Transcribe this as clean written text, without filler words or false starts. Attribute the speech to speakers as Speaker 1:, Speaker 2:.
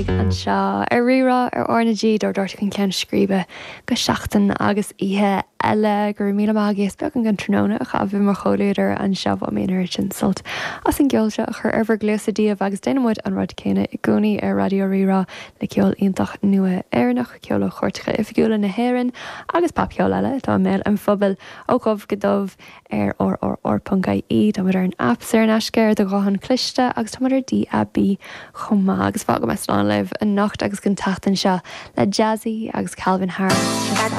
Speaker 1: Anseo ar Rí-Rá ar R na G, dár dtabhairt chun ceann scríbe go seachtain agus oíche eile. Go raibh míle maith agaibh as beagán den tráthnóna a chaitheamh i mo chomhluadar anseo. Bhain mé an oiread sin sult as an gceol seo a chur ar bhur gcluasa daoibh agus déanann muid an rud céanna i gcónaí ar Raidió Rí-Rá le ceol iontach nua Éireannach, ceol ó chairteacha oifigiúla na hÉireann agus popcheol eile atá i mbéal an phobail ó dhubh go dubh. ar rrr.ie. Táimid ar an aip saor in aisce ar do ghuthán cliste agus táimid ar DAB chomh maith. Agus fágfaidh mé slán libh anocht agus don tseachtain seo le Jazzy agus Calvin Harris.